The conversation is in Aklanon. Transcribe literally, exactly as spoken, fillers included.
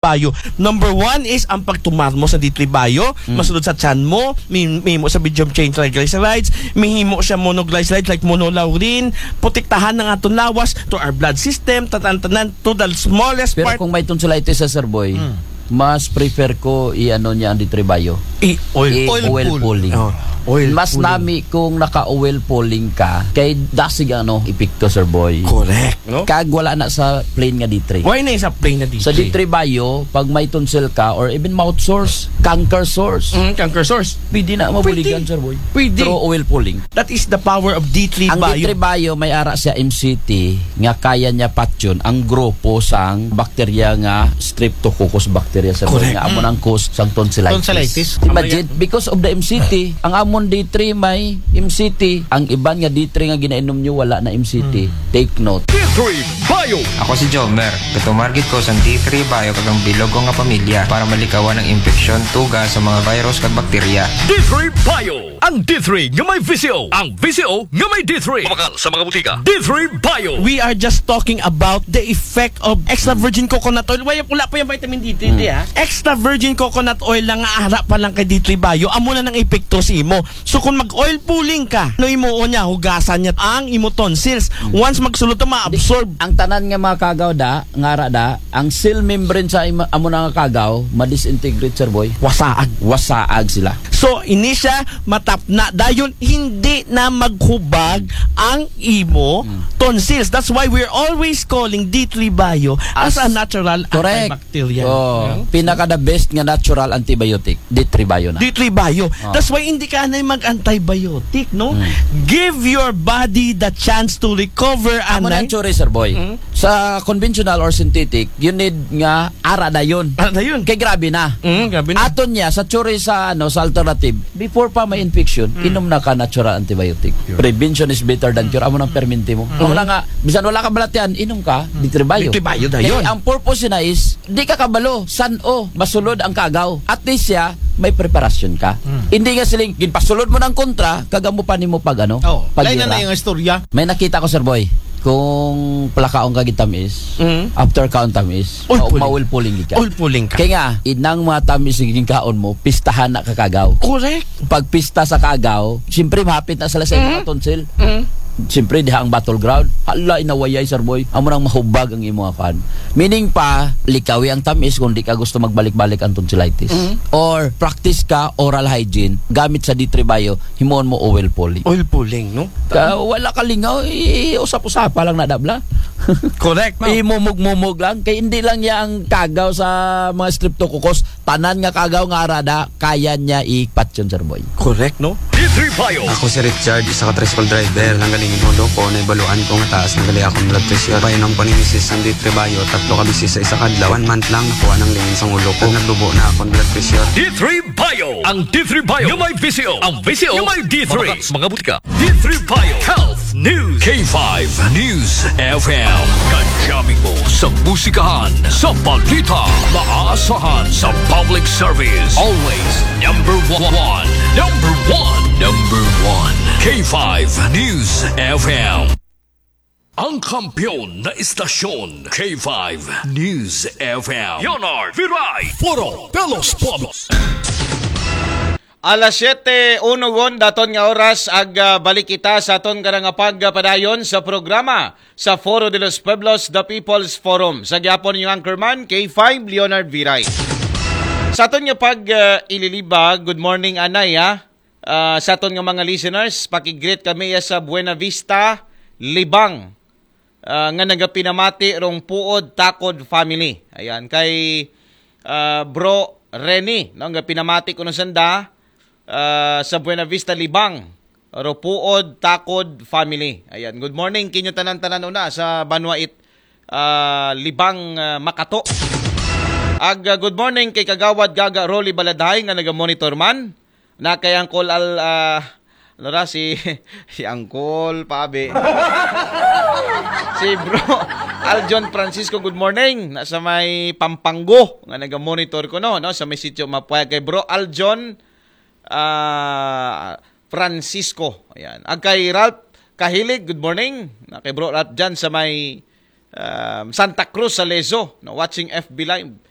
Bio. Number one is ang pagtumar mo sa D three Bio. Masulod sa tiyan mo, may, may mo sa medium chain triglycerides, may himo siya monoglycerides like monolaurin, protektahan ng atong lawas to our blood system, tatan-tanan to the smallest Pero part. Kung may tonsillitis sa Sir Boy, Hmm. mas prefer ko i-ano niya ang D three Bio. I-oil. I- Oil oil pulling. pulling. Oh, oil Mas pulling. nami kung naka-oil pulling ka, kay dasig ano, epekto, Sir Boy. Correct, no? Kag wala na sa plain nga D three. Why na sa plain na D three? Sa D three Bio, pag may tonsil ka or even mouth sores, canker sores, Mm, canker sores. pwede na mabuligan, Pwede. Sir Boy. Pwede. Through oil pulling. That is the power of D three Ang Bio. D three Bio may ara siya M C T nga kaya niya patyon ang grupo sang bakterya nga streptococcus bacteria, Sir Boy, Correct. nga amo nang cause sang tonsillitis. Tonsillitis. Imagine, because of the M C T, ang amon D three may M C T, ang iban nga D three nga ginainom nyo wala na M C T. Take note. D three Bio. Ako si Jomer. Gatumar gid ko sang D three Bio kag ang bilog ko nga pamilya para malikawan ang impeksyon, tuga sa mga virus kag bakterya. D three Bio. Ang D three nga may V C O. Ang V C O nga may D three. Mabakal sa mga butika. D three Bio. We are just talking about the effect of extra virgin coconut oil. Wala, wala pa yung vitamin D three, di, ha? Extra virgin coconut oil lang nga ara pa lang kay D three Bio. Amo na nang epekto sa imo. So kung mag-oil pulling ka, no, imo niya, hugasan niya ang imo tonsils. Once magsulod to, ma-absorb. Ang tanan nga mga kagaw da, nga ara da, ang cell membrane sa ima- amo na nga kagaw, ma-disintegrate, Sir Boy. Wasaag. Wasaag sila. So, ini siya, matapna. Dayon, hindi na maghubag ang imo tonsils. That's why we're always calling D three Bio as, As- a natural Correct. antibacterial. Oh, No? pinaka the best nga natural antibiotic, D three Bio na. D three Bio. Oh. That's why hindi ka na mag-antibiotic, no? Give your body the chance to recover, Amo na anay. ang tsuri, Sir Boy. Mm. Sa conventional or synthetic, you need nga ara dayon. Ara dayon. Kay grabe na. Mm, grabe na. Aton niya, sa tsuri sa, ano, sa alternative, before pa may infection, inom na ka natural antibiotic. Prevention is better than cure. Amo nang perminti mo. Wala nga, bisan wala ka balatian, inom ka, D three Bio. D three Bio dayon. Kay ang purpose na is, di ka kabalo, san o, masulod ang kagaw. At least siya, may preparasyon ka. Hindi nga siling, ginpasulod mo ng kontra, kag amo pa nimo pag ano, Oh, pag lain na na yung istorya. May nakita ko, Sir Boy. Kung palakaon ka gid tamis, Mm. after kaon tamis, Oil ma- pulling. ma-oil pulling ka. Oil pulling ka. Kaya nga, inang mga tamis nga ginkaon mo, pistahan na kakagaw. Correct. Pag pista sa kagaw, siyempre mahapit na sila sa mga tonsil. Mm. Siyempre, diha ang battleground. Hala, inawayay, Sir Boy. Amo nang mahubag ang imo apan. Meaning pa, likawi ang tamis kung di ka gusto magbalik-balik ang tonsillitis. Or practice ka oral hygiene gamit sa D three Bio, himuon mo oil pulling. Oil pulling, no? Ka, wala ka lingaw, i-usap-usapa lang na dabla. Correct, no? Imumog-mumog lang. Kay hindi lang niya ang kagaw sa mga streptococcus. Tanan nga kagaw nga arada, kaya niya ipatyon, Sir Boy. Correct, no? D three Bio. Ako si Richard, isa ka tricycle driver. Nanggaling in ulo ko, naibaluan ko nga taas na gali akong blood pressure. Painom ko ni misis ang D three Bio, tatlo ka bisis sa isa ka adlaw. One month lang, nakuha ng lingin sa ulo ko. Naglubo na akong blood pressure. D three Bio. Ang D three Bio nga may V C O. Ang V C O nga may D three. Mabakal sa mga butika. D three Bio Health News. K five News F M. Kajami mo sa musikahan, sa balita, maasahan sa public service. Always number one. Number one. Number one. K five News F M. Ang kampiyon na istasyon, K five News F M. Leonard Viray. Foro de los Pueblos. Alas siyete uno gon daton nga oras ag ah, balik kita sa aton karang pagpadayon sa programa sa Foro de los Pueblos, The People's Forum. Sa gihapon yung anchorman, K five Leonard Viray. Sa aton nga pag ah, ililiba, good morning, Anay, ha? Ah, sa aton nga mga listeners, pakigreet kami ya sa Buena Vista, Libang, ah, nga nagapinamati rong Puod Takod family. Ayan, kay ah, Bro Rene, no, nga pinamati ko nung sanda ah, sa Buena Vista, Libang, Ropuod, Takod family. Ayan, good morning kinyo tanan-tanan una sa Banwait, ah, Libang, ah, Makato. Ag ah, good morning kay Kagawad Gaga Rolly Baladhay nga naga-monitor man. Na kay Uncle Al, ah, ano ra, si, si Uncle Pabe. Si Bro Aljon Francisco, good morning. Nasa may Pampanggo nga naga-monitor ko, no, no, sa may sitio Mapuaya. Kay Bro Aljon ah, Francisco. Ayan. Ag kay Ralph Kahilig, good morning. Na kay Bro Ralph dyan sa may um, Santa Cruz sa Lezo, no, watching F B Live.